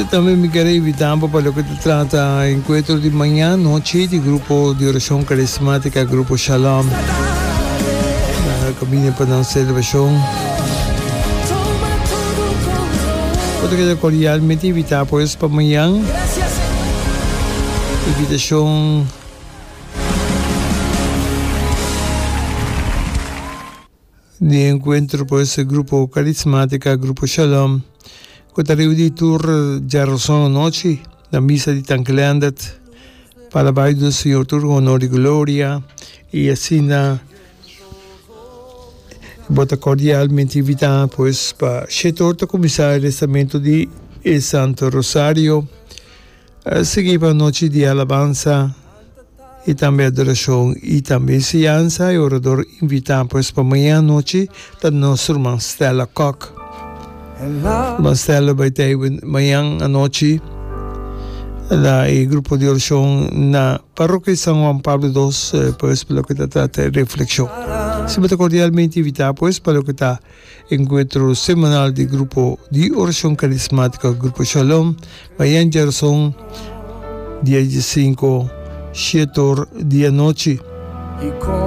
Tambe mi ker a invitá bo pa loke ta trata enkuentro di maña anochi di grupo di orashon karismátika Grupo Shalom. Nan a kaminda pa nan selebrashon. Bo ta keda kordialmente invitá pues pa mañan. Invitashon. Di enkuentro pues e grupo Karismátika Grupo Shalom ku ta reuni tur djaroson anochi na misa di Tanki Leendert pa alabá i duna Señor tur honor i gloria i asina bo ta kordialmente invitá pues pa shete or ta kuminsá e rezamentu di e Santo Rosario. A sigui pa nochi di alabansa i tambe adorashon i tambe enseñansa. E orador invitá pues pa mañana anochi ta nos ruman Stella Kok. Ruman Stella lo bai ta mañan anochi na e grupo di orashon na Parrokia San Juan Pablo dos pues pa loke ta trata e reflekshon. Si bo ta kordialmente invitá pues pa loke ta Encuentro semanal di Grupo di Oracion Carismático Grupo Shalom, mañan djarazon dia diesinco, shete or di anochi.